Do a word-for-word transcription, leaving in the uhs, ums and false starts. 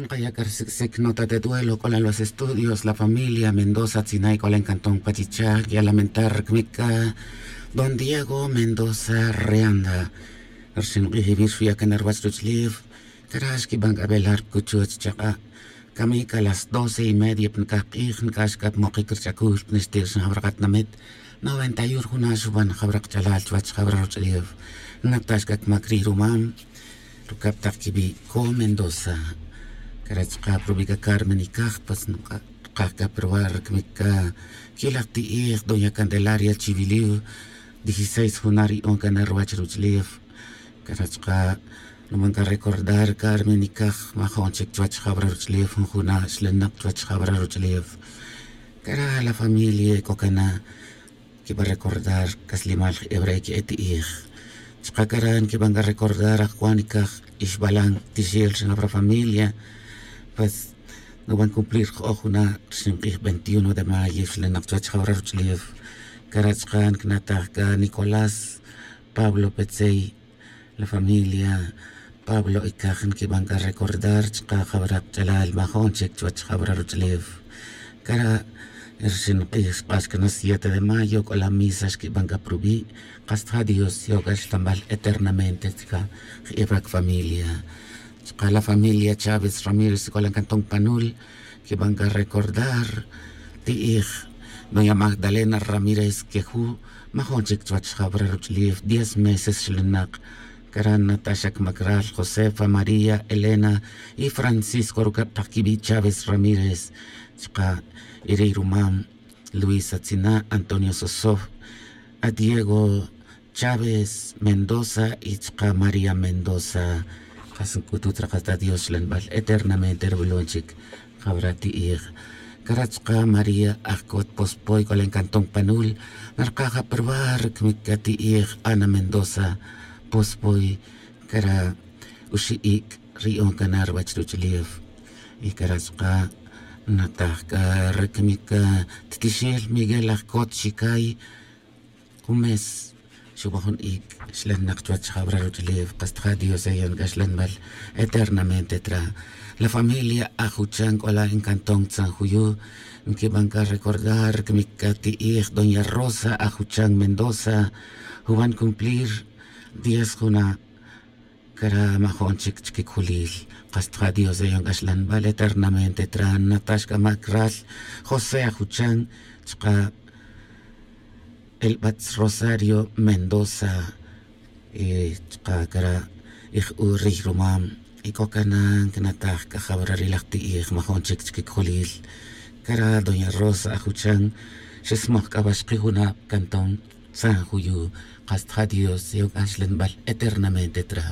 Nkaya' c'a rsic'sic nota de duelo c'o la los estudios la familia mendoza tzinay c'o la encantón pachicha' ya lamentar rcmic c'a don diego mendoza reanda. Rxin k'ij iwir xuya' cana ruwach ruch'ulef. Cara' xquiban c'a velar cuchuch chak'a'. Camic a las doce y media pnicaj k'ij nc'ax c'a pmokic rch'acul pnixti' rxin jawra katinamit. Noventa y un rjuna' xuban jawra kach'alal chuwach jawra ruch'ulef. Natax c'a cmac rij rumam rucab tak quiwi' co mendoza. Cara' chka' prubi' c'a carmen icaj pues nkaj c'a pruwa' rcmic c'a quilaj ti'ij doña candelaria chiwiliw. Dieciséis juna' ri'on cana ruwach ruch'ulef. Cara' chka' nuban c'a recordar carmen icaj majo'n chic chuwach jawra ruch'ulef jun juna' xlenak chuwach jawra ruch'ulef. Cara' la familia c'o cana quiban recordar c'aslimal je'e wara' que'e ti'ij. Chka' cara' nquiban c'a recordar ajwan icaj ixbalan tixel rxin jawra familia. Pues nuban cumplir jo'oj juna' rxin k'ij veintiuno de mayo xlenak chuwach jawra ruch'ulef. Cara' chka' ncnataj c'a nicolás pablo petzey. La familia pablo icaj nquiban c'a recordar chka' jawra kach'alal majo'n chic chuwach jawra ruch'ulef. Cara' rxin k'ij xk'ax cana siete de mayo c'o la misa xquiban c'a prubi'. Kasta ja dios yow c'a xlanbal eternamente chka' je'e wara' familia. Chka' la familia chávez ramírez c'o la cantón panul quiban c'a recordar ti'ij doña magdalena ramírez queju' majo'n chic chuwach jawra ruch'ulef diez meses xlenak. Cara' nataxa cmac ral josefa maría elena y francisco rucab tak quiwi' chávez ramírez. Chka' iri' rumam luisa tzina' antonio sosof adiego chávez mendoza y chka' maría mendoza. Kas nc'utut ra kasta dios xlanbal eternamente rwilon chic. Jawra ti'ij cara' chka' maría ajcot pospoy c'o la encantón panul narkaj aprubar cmic c'a ti'ij ana mendoza pospoy. Cara' uxi' ic' ri'on cana ruwach ruch'ulef. Y cara' chka' nataj c'a rcmic c'a ttixel miguel ajcot xicay. Kumes xuban jun ic' xlenak chuwach jawra ruch'ulef kasta ja dios eyon c'a xlanbal eternamente tra. La familia ajuchan c'o la encantón tzanjuyu nquiban c'a recordar cmic c'a ti'ij doña rosa ajuchan mendoza. Juban cumplir diez juna'. Cara' majo'n chic chquicjulil kasta ja dios eyon c'a xlanbal eternamente tra natax c'a mac ral josé ajuchan chka' elbatz rosario mendoza. Chka' cara' ij u rij rumam y c'o cana ncnataj c'a jawra ri laj ti'ij majo'n chic chquicjulil. Cara' doña rosa ajuchan xesmoj c'a wa xki junab cantón tzanjuyu. Kasta ja dios yow c'a xlanbal eternamente tra.